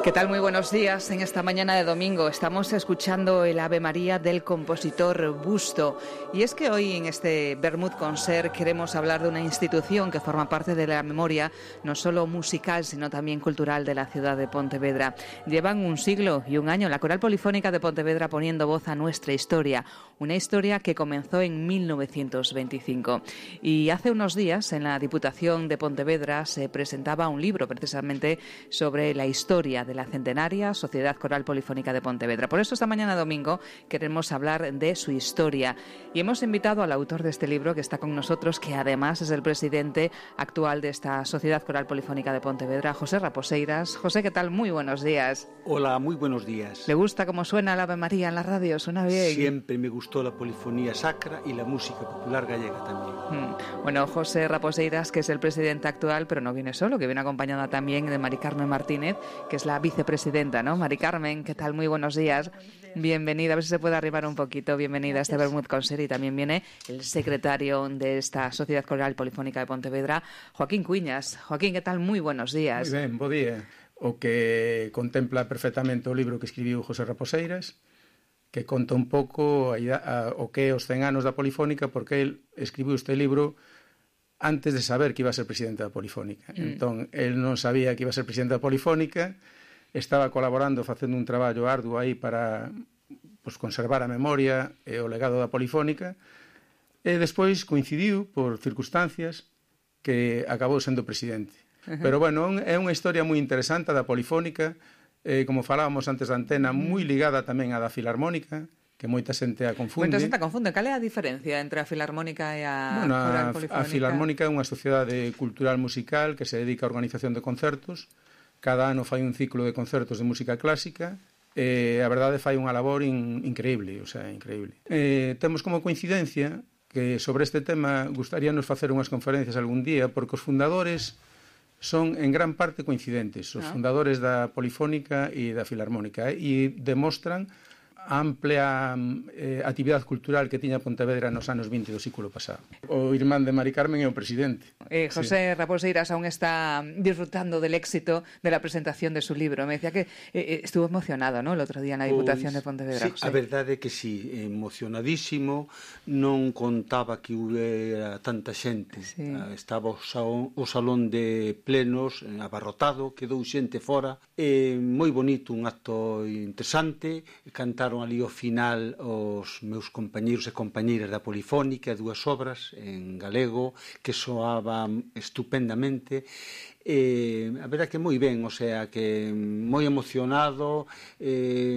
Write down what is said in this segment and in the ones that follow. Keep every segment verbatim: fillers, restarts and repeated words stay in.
¿Qué tal? Muy buenos días. En esta mañana de domingo estamos escuchando el Ave María del compositor Busto. Y es que hoy en este Vermut Concert queremos hablar de una institución que forma parte de la memoria no solo musical, sino también cultural de la ciudad de Pontevedra. Llevan un siglo y un año la Coral Polifónica de Pontevedra poniendo voz a nuestra historia. Una historia que comenzó en mil novecientos veinticinco. Y hace unos días en la Diputación de Pontevedra se presentaba un libro precisamente sobre la historia de la centenaria Sociedad Coral Polifónica de Pontevedra. Por eso esta mañana domingo queremos hablar de su historia y hemos invitado al autor de este libro que está con nosotros, que además es el presidente actual de esta Sociedad Coral Polifónica de Pontevedra, José Raposeiras. José, ¿qué tal? Muy buenos días. Hola, muy buenos días. ¿Le gusta cómo suena el Ave María en la radio? ¿Suena bien? Siempre me gustó la polifonía sacra y la música popular gallega también. Hmm. Bueno, José Raposeiras, que es el presidente actual, pero no viene solo, que viene acompañada también de Mari Carmen Martínez, que es la vicepresidenta, ¿no? Mari Carmen, ¿qué tal? Muy buenos días. Bienvenida, a ver si se puede arribar un poquito. Bienvenida Gracias. A este Vermut Concert. Y también viene el secretario de esta Sociedad Coral Polifónica de Pontevedra, Joaquín Cuiñas. Joaquín, ¿qué tal? Muy buenos días. Moi ben, bo día. O que contempla perfectamente o libro que escribiu José Raposeiras, que conta un pouco a, a, o que é os cen anos da Polifónica, porque el escribiu este libro antes de saber que iba a ser presidente da Polifónica. Mm. Entón, el non sabía que iba a ser presidente da Polifónica, estaba colaborando, facendo un traballo arduo aí para pues, conservar a memoria e o legado da Polifónica, e despois coincidiu por circunstancias que acabou sendo presidente. Uh-huh. Pero, bueno, é unha historia moi interesante da Polifónica, eh, como falábamos antes da antena, moi ligada tamén á da Filarmónica, que moita xente a confunde. Moita xente a confunde. Cal é a diferencia entre a Filarmónica e a bueno, Coral a, Polifónica? A Filarmónica é unha sociedade cultural musical que se dedica á organización de concertos. Cada ano fai un ciclo de concertos de música clásica e a verdade fai unha labor in, increíble, o sea, increíble. Eh, temos como coincidencia que sobre este tema gustaríanos facer unhas conferencias algún día, porque os fundadores son en gran parte coincidentes, os ah. fundadores da Polifónica e da Filarmónica, eh, e demostran a amplia eh, actividade cultural que tiña Pontevedra nos anos vinte do século pasado. O irmán de Mari Carmen é o presidente. Eh, José sí. Raposeiras aún está disfrutando del éxito de la presentación de su libro. Me decía que eh, estuvo emocionado, ¿no?, el outro día na Diputación pues, de Pontevedra. Sí, José. A verdade é que sí, emocionadísimo, non contaba que hubiera tanta xente. Sí. Estaba o salón, o salón de plenos abarrotado, quedou xente fora. Eh, moi bonito, un acto interesante, cantaron ali ao final os meus compañeiros e compañeiras da Polifónica, dúas obras en galego que soaban estupendamente. Eh, a verdade que moi ben, o sea, que moi emocionado, eh,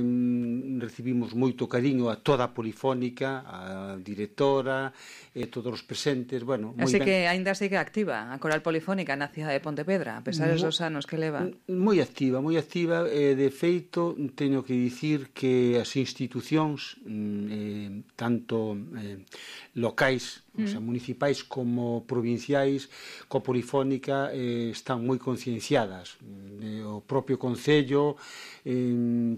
recibimos moito cariño a toda a Polifónica, a directora, e eh, todos os presentes, bueno, moi Así ben. que aínda sigue activa a Coral Polifónica na cidade de Pontevedra, a pesar dos anos que leva. Moi activa, moi activa, e eh, de feito teño que dicir que as institucións eh, tanto eh, locais, mm. o sea, municipais como provinciais, coa Polifónica eh, están moi concienciadas. Eh, o propio Concello, eh,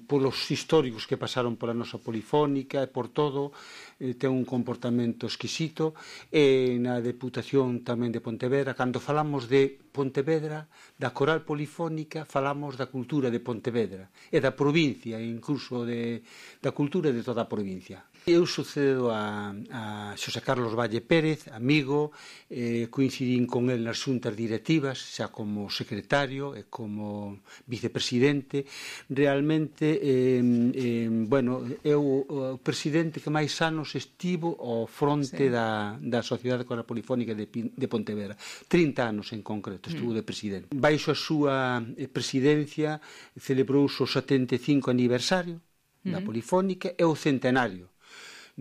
polos históricos que pasaron pola nosa Polifónica e por todo, eh, ten un comportamento exquisito. E na Deputación tamén de Pontevedra, cando falamos de Pontevedra, da Coral Polifónica, falamos da cultura de Pontevedra e da provincia, incluso de, da cultura de toda a provincia. Eu sucedo a, a Xosé Carlos Valle Pérez, amigo, eh, coincidín con el nas xuntas directivas, xa como secretario e como vicepresidente. Realmente, eh, eh, bueno, eu o presidente que máis anos estivo ao fronte sí. da, da Sociedade Coral Polifónica de, de Pontevedra. trinta anos en concreto estuvo mm. de presidente. Baixo a súa presidencia celebrouse o setenta e cinco aniversario mm. da Polifónica e o centenario.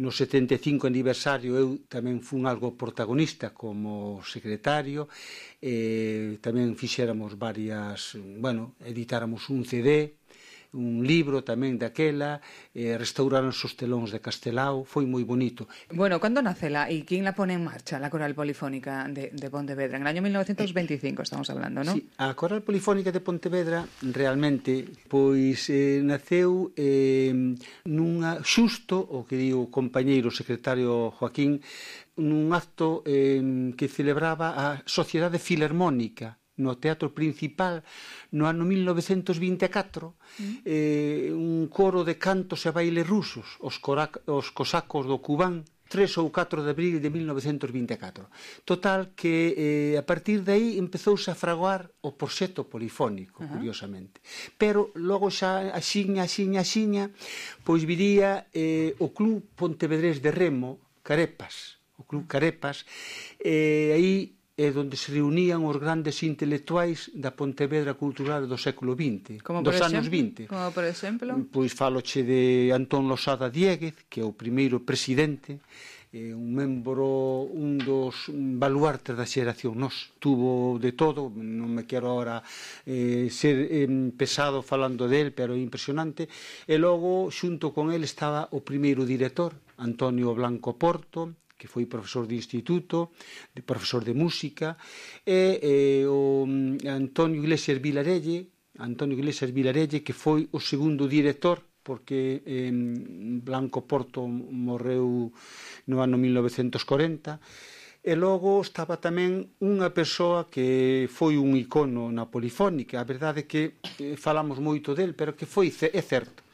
No setenta e cinco aniversario eu tamén fun algo protagonista como secretario, eh, tamén fixéramos varias, bueno, editáramos un C D, un libro tamén daquela, eh, restauraron os telóns de Castelao, foi moi bonito. Bueno, ¿cuándo nace la y quién la pone en marcha, la Coral Polifónica de, de Pontevedra? En el año mil novecientos veinticinco estamos hablando, ¿no? Sí, a Coral Polifónica de Pontevedra realmente pois eh, naceu eh, nunha xusto, o que di o compañeiro secretario Joaquín, nun acto eh, que celebraba a Sociedade Filarmónica no Teatro Principal no ano mil novecentos vinte e catro, mm. eh, un coro de cantos e bailes rusos, os, corac, os cosacos do Kubán, tres ou catro de abril de mil novecentos vinte e catro. Total que eh, a partir de aí empezouse a fraguar o proxecto polifónico, uh-huh. curiosamente. Pero logo xa axiña, axiña, axiña, pois viría eh, o Club Pontevedrés de Remo, Carepas, o Club Carepas, e eh, aí é onde se reunían os grandes intelectuais da Pontevedra cultural do século vinte, como dos exemplo, anos vinte. Como por exemplo? Pois faloche de Antón Losada Diéguez, que é o primeiro presidente, eh, un membro, un dos baluartes da xeración nos, tuvo de todo, non me quero agora eh, ser eh, pesado falando del, pero é impresionante, e logo xunto con el estaba o primeiro director, Antonio Blanco Porto, que foi profesor de instituto, de profesor de música, e eh, o Antonio Iglesias Vilarelle, Antonio Iglesias Vilarelle, que foi o segundo director, porque eh, Blanco Porto morreu no ano mil novecentos corenta, e logo estaba tamén unha persoa que foi un icono na polifónica, a verdade é que eh, falamos moito del, pero que foi, é certo,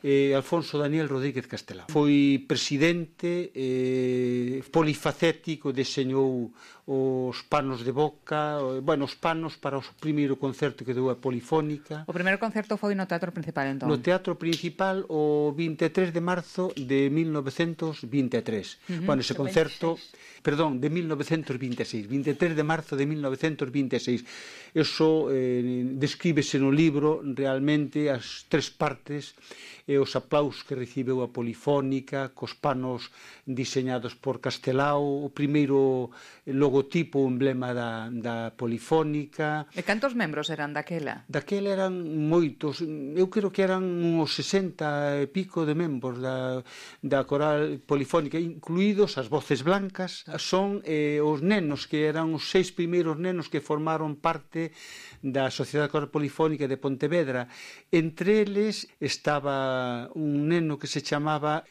Eh, Alfonso Daniel Rodríguez Castelao. Foi presidente eh, polifacético, deseñou os panos de boca, bueno, os panos para o primeiro concerto que deu a Polifónica. O primeiro concerto foi no Teatro Principal, entón? No Teatro Principal o vinte e tres de marzo de mil novecentos vinte e tres. Uh-huh. Bueno, ese concerto, perdón, de mil novecentos vinte e seis, vinte e tres de marzo de mil novecentos vinte e seis. Eso eh, descríbese no libro realmente as tres partes e os aplausos que recibeu a Polifónica, cos panos diseñados por Castelao, o primeiro logotipo, o emblema da, da Polifónica. E cantos membros eran daquela? Daquela eran moitos, eu creo que eran uns sesenta e pico de membros da, da coral polifónica, incluídos as voces blancas, son eh, os nenos, que eran os seis primeiros nenos que formaron parte da Sociedade Coral Polifónica de Pontevedra. Entre eles estaba un neno que se chamaba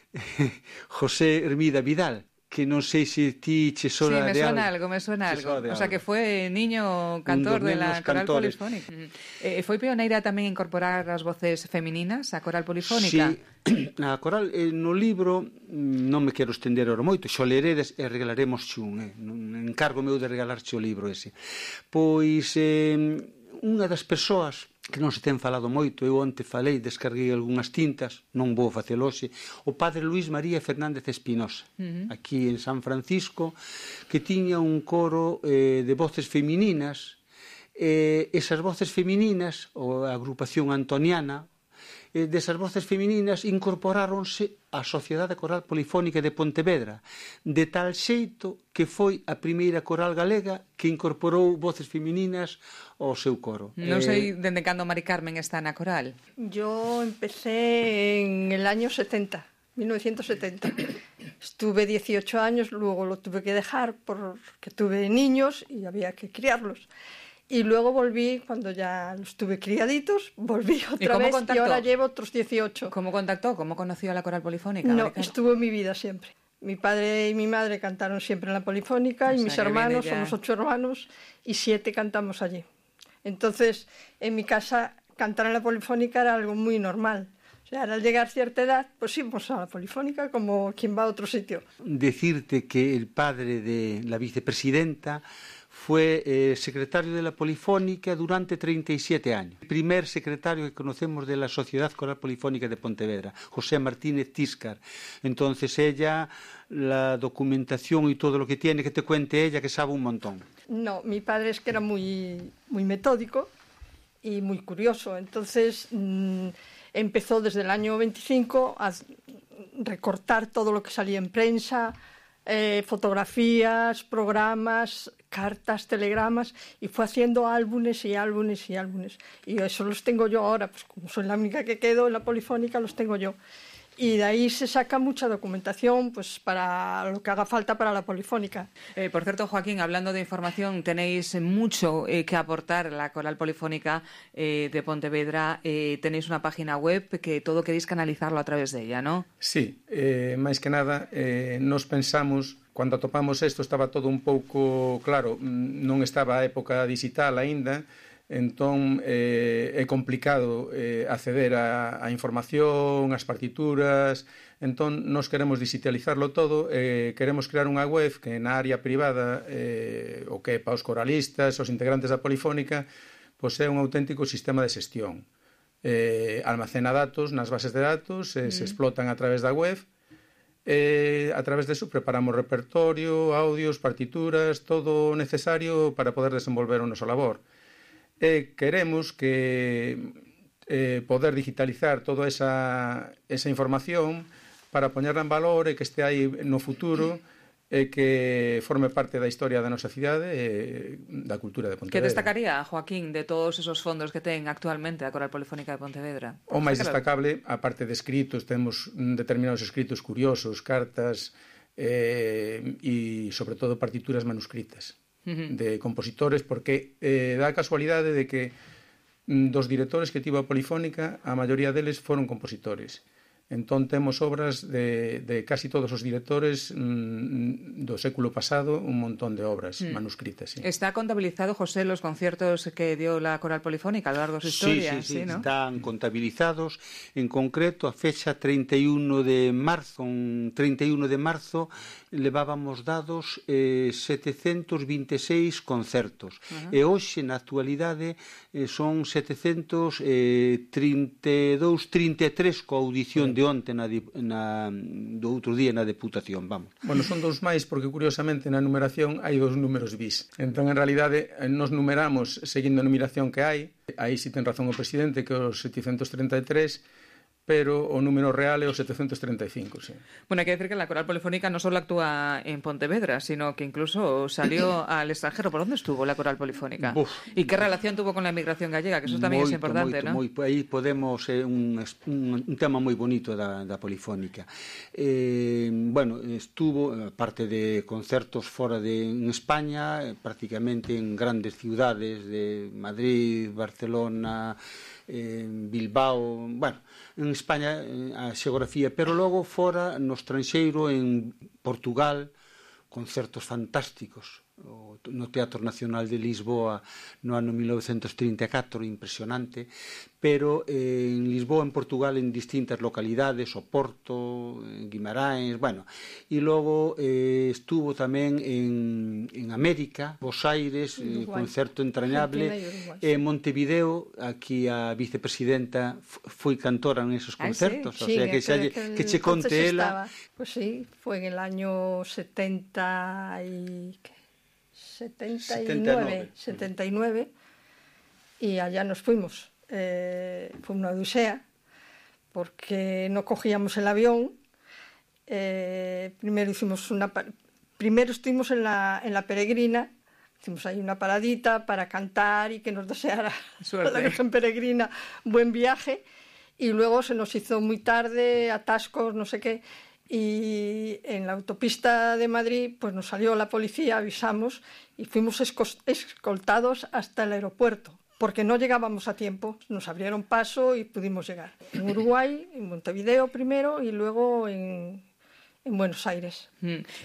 José Hermida Vidal, que non sei se ti che sona de algo. Sí, me suena algo, me suena algo. O sea, que foi niño cantor de la Coral cantores. Polifónica. Eh, foi pioneira tamén incorporar as voces femininas á Coral Polifónica? Sí, a Coral, eh, no libro, non me quero estender ahora moito, xo leredes e regalaremos xun, eh. encargo meu de regalarche o libro ese. Pois, eh, unha das persoas que non se ten falado moito, eu onte falei, descarguei algunhas tintas, non vou facelo hoxe, o padre Luis María Fernández Espinosa, uh-huh. aquí en San Francisco, que tiña un coro eh, de voces femininas, eh, esas voces femininas, ou a agrupación antoniana, eh, desas voces femininas incorporáronse á Sociedade Coral Polifónica de Pontevedra, de tal xeito que foi a primeira coral galega que incorporou voces femininas ao seu coro. Non sei dende cando Mari Carmen está na coral. Yo empecé en el año setenta, mil novecientos setenta. Estuve dieciocho años, luego lo tuve que dejar porque tuve niños y había que criarlos. Y luego volví, cuando ya los tuve criaditos, volví otra vez contactó? Y ahora llevo otros dieciocho. ¿Cómo contactó? ¿Cómo conoció a la Coral Polifónica? No, estuvo en mi vida siempre. Mi padre y mi madre cantaron siempre en la Polifónica, o y sea, mis hermanos, ya... somos ocho hermanos, y siete cantamos allí. Entonces, en mi casa, cantar en la Polifónica era algo muy normal. O sea, al llegar a cierta edad, pues íbamos a la Polifónica como quien va a otro sitio. Decirte que el padre de la vicepresidenta fue eh, secretario de la Polifónica durante treinta y siete años. El primer secretario que conocemos de la Sociedad Coral Polifónica de Pontevedra, José Martínez Tíscar. Entonces ella, la documentación y todo lo que tiene, que te cuente ella, que sabe un montón. No, mi padre es que era muy, muy metódico y muy curioso. Entonces mmm, empezó desde el año veinticinco a recortar todo lo que salía en prensa, eh, fotografías, programas, cartas, telegramas, y fue haciendo álbumes y álbumes y álbumes. Y eso los tengo yo ahora, pues como soy la única que quedo en la Polifónica, los tengo yo. Y de ahí se saca mucha documentación pues para lo que haga falta para la Polifónica. Eh, por cierto, Joaquín, hablando de información, tenéis mucho eh, que aportar a la Coral Polifónica eh, de Pontevedra. Eh, tenéis una página web que todo queréis canalizarlo a través de ella, ¿no? Sí, eh, máis que nada, eh, nos pensamos Cando atopamos isto estaba todo un pouco, claro, non estaba a época digital aínda, entón eh, é complicado eh, acceder a, a información, as partituras, entón nos queremos digitalizarlo todo, eh, queremos crear unha web que na área privada, eh, o que para os coralistas, os integrantes da Polifónica, pois é un auténtico sistema de xestión. Eh, almacena datos nas bases de datos, eh, mm. se explotan a través da web, Eh, a través deso preparamos repertorio, audios, partituras, todo o necesario para poder desenvolver o noso labor. E queremos que eh, poder digitalizar toda esa, esa información para poñerla en valor e que este aí no futuro e que forme parte da historia da nosa cidade e da cultura de Pontevedra. Que destacaría, Joaquín, de todos esos fondos que ten actualmente a Coral Polifónica de Pontevedra? O máis destacable, a parte de escritos, temos determinados escritos curiosos, cartas eh, e, sobre todo, partituras manuscritas uh-huh. de compositores, porque eh, dá a casualidade de que dos directores que tivo a Polifónica, a maioría deles foron compositores. Entón temos obras de, de casi todos os directores mmm, do século pasado, un montón de obras mm. manuscritas. Sí. ¿Está contabilizado, José, los conciertos que dio la Coral Polifónica a lo largo de su historia? Sí, sí, sí, sí, ¿no? Están contabilizados. En concreto, a fecha treinta e un de marzo, un treinta e un de marzo, levábamos dados eh, setecentos vinte e seis concertos. Uh-huh. E hoxe, na actualidade, eh, son setecentos trinta e dous, trinta e tres coa audición de onte na, na, do outro día na Deputación, vamos. Bueno, son dous máis porque curiosamente na numeración hai dous números bis. Entón, en realidade, nos numeramos seguindo a numeración que hai. Aí si ten razón o presidente que os setecentos treinta e tres, pero o número real é o setecentos treinta e cinco, sí. Bueno, hay que decir que la Coral Polifónica no solo actúa en Pontevedra, sino que incluso salió al extranjero. ¿Por dónde estuvo la Coral Polifónica? Uf, ¿Y qué relación tuvo con la inmigración gallega? Que eso también moito, es importante, moito, ¿no? Moito. Aí podemos, é eh, un, un, un tema moi bonito da, da Polifónica. Eh, bueno, estuvo, aparte de concertos fora de en España, eh, prácticamente en grandes ciudades de Madrid, Barcelona, eh, Bilbao, bueno, en España a xeografía, pero logo fora no estranxeiro, en Portugal, concertos fantásticos, no Teatro Nacional de Lisboa no ano mil novecentos trinta e catro, impresionante, pero eh, en Lisboa, en Portugal, en distintas localidades, Oporto, en Guimarães, bueno, e logo eh, estuvo tamén en, en América, Buenos Aires, eh, concerto entrañable, en eh, Montevideo, aquí a vicepresidenta foi cantora en esos concertos, ah, sí, o sea, sí, que, xa, que, que che conte ela. Pues sí, fue en el año setenta y setenta y nueve, setenta y nueve, y allá nos fuimos. Eh, fue una odisea, porque no cogíamos el avión. Eh, primero hicimos una, primero estuvimos en la, en la Peregrina, hicimos ahí una paradita para cantar y que nos deseara a la Virgen Peregrina buen viaje, y luego se nos hizo muy tarde, atascos, no sé qué. Y en la autopista de Madrid pues nos salió la policía, avisamos y fuimos escoltados hasta el aeropuerto porque no llegábamos a tiempo. Nos abrieron paso y pudimos llegar. En Uruguay, en Montevideo primero y luego en, en Buenos Aires.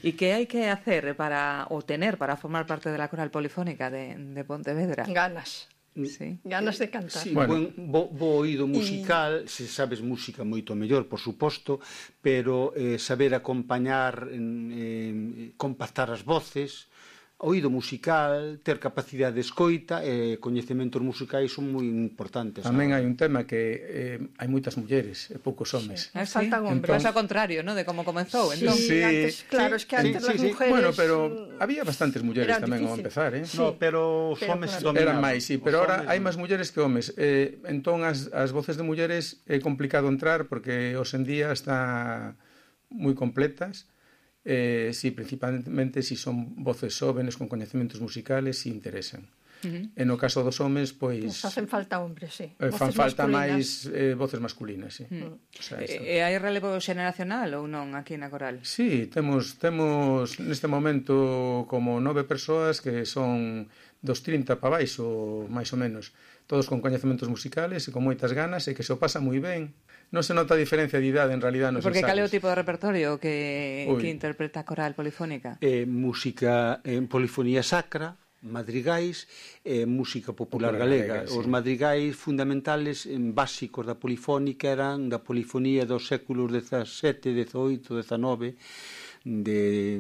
¿Y qué hay que hacer para, o tener para formar parte de la Coral Polifónica de, de Pontevedra? Ganas. Sí. Ganas de cantar. Sí, bueno. buen, bo, bo oído musical, y... se sabes música moito mellor, por suposto, pero eh, saber acompañar, eh, compactar as voces, oído musical, ter capacidade de escoita e eh, coñecementos musicais son moi importantes. Tamén hai un tema que eh, hai moitas mulleres e poucos homes. Sí. Faltan hombres. Entón... Pasa ao contrario, ¿no? De como comenzou. Sí, entón. sí, antes, claro, sí, es que antes sí, las sí, mujeres... Bueno, pero había bastantes mulleres tamén ao empezar, eh? Sí, no, pero os homes claro. Eran máis, sí, pero ahora hai máis mulleres que homes. Eh, entón, as, as voces de mulleres é complicado entrar porque hoxe en día está moi completas. Eh, sí, principalmente si son voces jóvenes con coñecementos musicales, si interesan. Uh-huh. E no caso dos homes, pois... Nos hacen falta hombres, sí. Eh, fan Voces falta masculinas. máis eh, voces masculinas, sí. Uh-huh. O sea, e, e hai relevo xeneracional ou non aquí na coral? Sí, temos, temos neste momento como nove persoas que son dos trinta para baixo, máis ou menos. Todos con coñecementos musicales e con moitas ganas e que se o pasa moi ben. Non se nota a diferencia de idade en realidad nos Porque ensaios. cal é o tipo de repertorio que, Ui. que interpreta a coral polifónica? Eh, música en polifonía sacra, madrigais e eh, música popular, popular galega. galega, sí. Os madrigais fundamentales en básicos da polifónica eran da polifonía dos séculos dezasete, dezoito, dezanove, de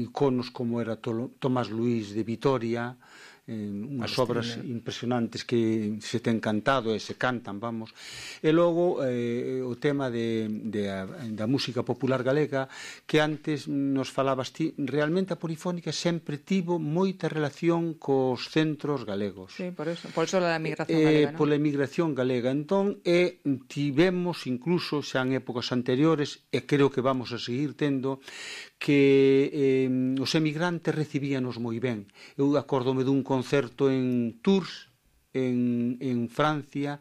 iconos como era Tomás Luís de Vitoria, eh, unhas obras impresionantes que se ten cantado e se cantan, vamos. E logo eh, o tema de, de a, da música popular galega, que antes nos falabas ti, realmente a polifónica sempre tivo moita relación cos centros galegos. Sí, por eso, por eso la migración eh, galega, ¿no? Pola emigración galega. Entón, e tivemos incluso xa en épocas anteriores, e creo que vamos a seguir tendo, que eh, os emigrantes recibíanos moi ben. Eu acórdome dun concerto en Tours, en, en Francia,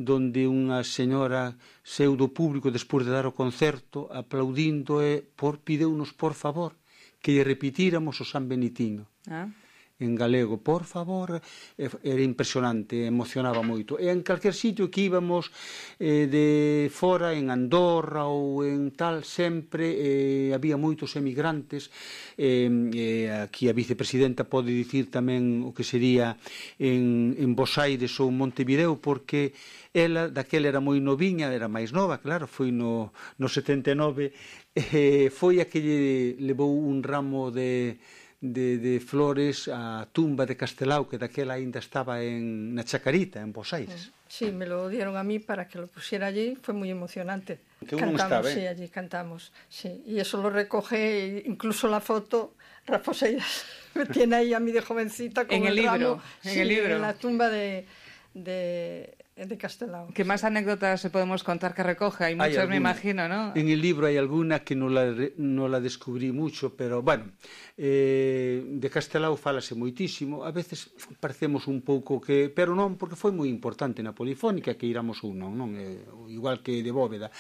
donde unha señora saiu do público despois de dar o concerto aplaudindo e por pideunos por favor que lle repitíramos o San Benitiño. Ah. En galego, por favor, era impresionante, emocionaba moito. E en calquer sitio que íbamos eh, de fora, en Andorra ou en tal, sempre eh, había moitos emigrantes. Eh, eh, aquí a vicepresidenta pode dicir tamén o que sería en, en Bos Aires ou Montevideo, porque ela, daquela era moi noviña, era máis nova, claro, foi no, no setenta e nove, eh, foi a que lle levou un ramo de... De, de flores a tumba de Castelao, que daquela aínda estaba en, na Chacarita, en Bos Aires. Sí, me lo dieron a mí para que lo pusiera allí, fue muy emocionante. Que cantamos, estaba, ¿eh? Sí, allí cantamos, sí. Y eso lo recoge, incluso la foto, Rafa Seiras me tiene ahí a mí de jovencita con en el, el libro, ramo, en sí, el libro. en la tumba de... de de Castelao. ¿Qué más anécdotas podemos contar que recoge? Hay muchas, me imagino, ¿no? En el libro hay alguna que no la, no la descubrí mucho, pero, bueno, eh, de Castelao fálase moitísimo, a veces parecemos un pouco que... Pero non, porque foi moi importante na polifónica, que iramos un non, non? Eh, igual que de Bóveda.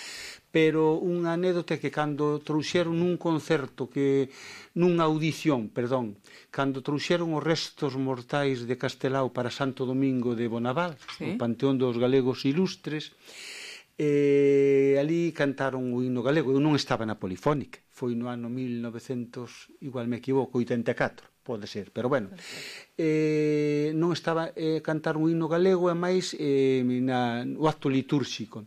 Pero unha anécdota que cando trouxeron nun concerto, que nunha audición, perdón, cando trouxeron os restos mortais de Castelao para Santo Domingo de Bonaval, sí, o Panteón dos Galegos Ilustres, e ali cantaron o himno galego. Eu non estaba na polifónica, foi no ano mil novecentos, igual me equivoco, oitenta e catro, pode ser, pero bueno, eh, non estaba, eh, cantaron o himno galego e máis eh, na, o acto litúrxico.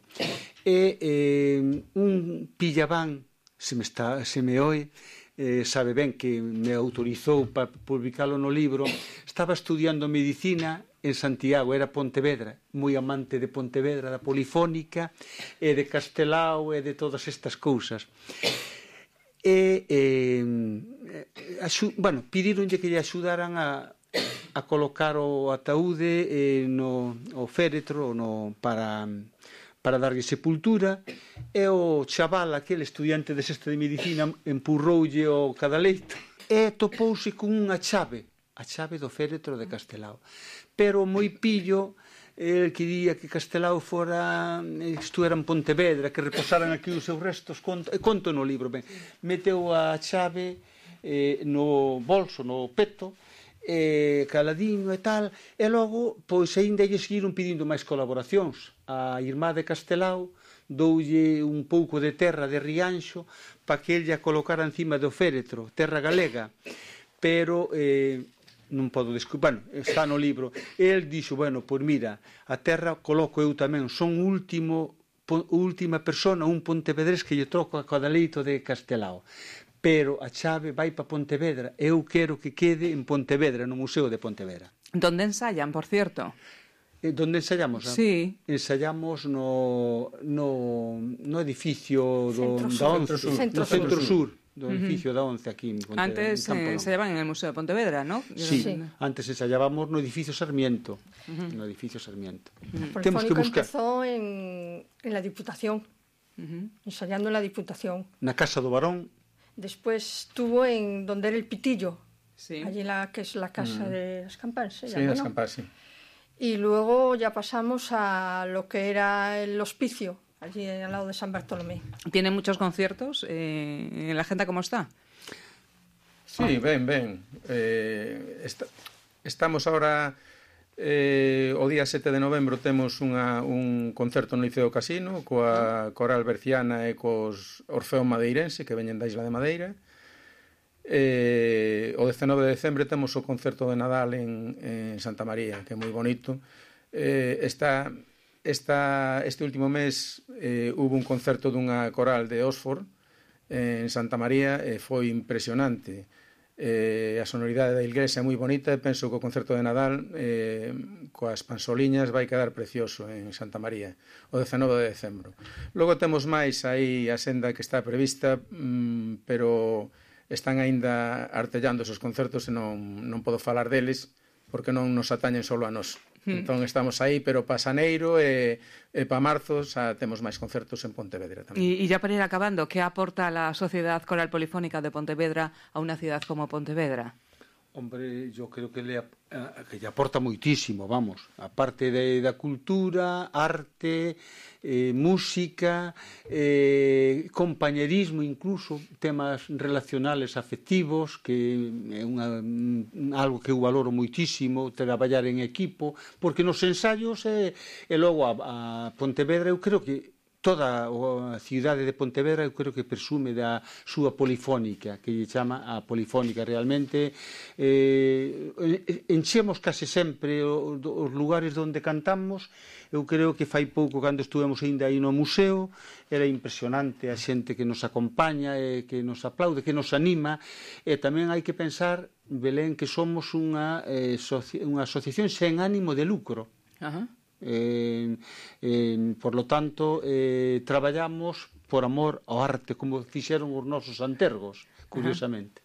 E eh, un pillabán, se me, está, se me oe, eh, sabe ben que me autorizou para publicalo no libro, estaba estudiando medicina en Santiago, era Pontevedra, moi amante de Pontevedra, da polifónica e de Castelao e de todas estas cousas. E, eh, axu, bueno, pidíronlle que lle axudaran a, a colocar o ataúde eh, no o féretro no, para... para darlle sepultura, e o chaval, aquel estudiante de sexto de medicina, empurroulle o cadaleito e topouse con unha chave, a chave do féretro de Castelao. Pero moi pillo, el quería que Castelao fora, isto era en Pontevedra, que reposaran aquí os seus restos, conto, conto no libro, ben, meteu a chave eh, no bolso, no peto, eh, caladiño e tal, e logo, pois, aínda lle seguiron pedindo máis colaboracións. A irmá de Castelao doulle un pouco de terra de Rianxo para que ella colocara encima do féretro, terra galega, pero eh, non podo descubrir, bueno, está no libro. El dixo, bueno, pois mira, a terra coloco eu tamén, son último, última persona, un pontevedrés que lle troco a cadaleito de Castelao. Pero a chave vai para Pontevedra. Eu quero que quede en Pontevedra, no Museo de Pontevedra. ¿Dónde ensayan, por cierto? Eh, ¿Dónde ensayamos? Sí. Ensayamos no, no, no edificio do, Centro da Once, Sur. Centro no Centro Sur, Sur do edificio uh-huh. da Once aquí en Pontevedra. Antes eh, ensayaban en el Museo de Pontevedra, ¿no? Sí, sí. Antes ensayábamos no edificio Sarmiento. Uh-huh. No edificio Sarmiento. Uh-huh. Temos que buscar. Empezó en, en la Diputación, uh-huh. ensayando en la Diputación. Na Casa do Barón. Después estuvo en donde era el Pitillo, Sí. allí la que es la casa mm. de Escampán, se sí, llama, ¿no? Escampán, sí. Y luego ya pasamos a lo que era el hospicio, allí al lado de San Bartolomé. ¿Tiene muchos conciertos? Eh, ¿En la agenda cómo está? Sí, ben, ben. Eh, está, estamos ahora... Eh, o día sete de novembro temos unha, un concerto no Liceo Casino coa Coral Berciana e cos Orfeo Madeirense que veñen da Isla de Madeira. Eh, o dezenove de decembre temos o concerto de Nadal en, en Santa María, que é moi bonito. Eh, esta, esta, este último mes eh, hubo un concerto dunha coral de Oxford en Santa María e foi impresionante. Eh, a sonoridade da iglesia é moi bonita e penso que o concerto de Nadal eh, coas pansoliñas vai quedar precioso en Santa María o dezenove de decembro. Logo temos máis aí a senda que está prevista, mmm, pero están aínda artellando esos concertos e non, non podo falar deles porque non nos atañen solo a nós. Hmm. Entón estamos aí, pero para xaneiro e, e para marzo xa temos máis concertos en Pontevedra tamén. Y, y ya para ir acabando, ¿qué aporta la Sociedad Coral Polifónica de Pontevedra a una ciudad como Pontevedra? Hombre, yo creo que le, que le aporta moitísimo, vamos, aparte de, da cultura, arte, eh, música, eh, compañerismo, incluso temas relacionales afectivos, que é unha, algo que eu valoro moitísimo, traballar en equipo, porque nos ensayos e, e logo a, a Pontevedra eu creo que toda a cidade de Pontevedra eu creo que presume da súa polifónica, que lle chama a polifónica realmente. Eh, enchemos case sempre os lugares onde cantamos. Eu creo que fai pouco, cando estuvemos ainda aí no museo, era impresionante a xente que nos acompaña, e que nos aplaude, que nos anima, e tamén hai que pensar, Belén, que somos unha, eh, unha asociación sen ánimo de lucro. Ajá. Eh, eh, por lo tanto eh, traballamos por amor ao arte, como fixeron os nosos antergos, curiosamente. Ajá.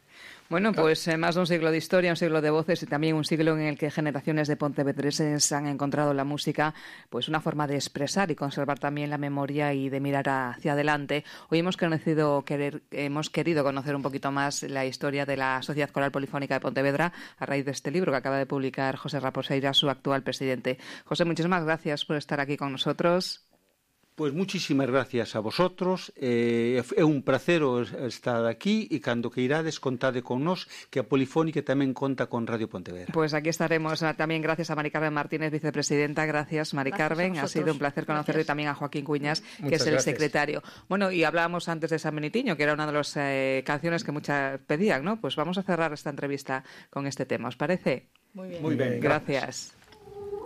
Bueno, pues eh, más de un siglo de historia, un siglo de voces y también un siglo en el que generaciones de pontevedreses han encontrado la música pues una forma de expresar y conservar también la memoria y de mirar hacia adelante. Hoy hemos conocido, querer, hemos querido conocer un poquito más la historia de la Sociedad Coral Polifónica de Pontevedra a raíz de este libro que acaba de publicar José Raposeira, su actual presidente. José, muchísimas gracias por estar aquí con nosotros. Pois muchísimas gracias a vosotros, eh, é un placer estar aquí e cando que irades contade con nós, que a Polifónica tamén conta con Radio Pontevedra. Pues aquí estaremos tamén gracias a Mari Carmen Martínez, vicepresidenta. Gracias, Mari Carmen, ha sido un placer conocerle, y también a Joaquín Cuñas, que Muchas es el gracias. secretario. Bueno, y hablábamos antes de San Benitiño, que era una de las eh, canciones que muchas pedían, ¿no? Pues vamos a cerrar esta entrevista con este tema, ¿os parece? Muy bien. Muy bien, gracias. gracias.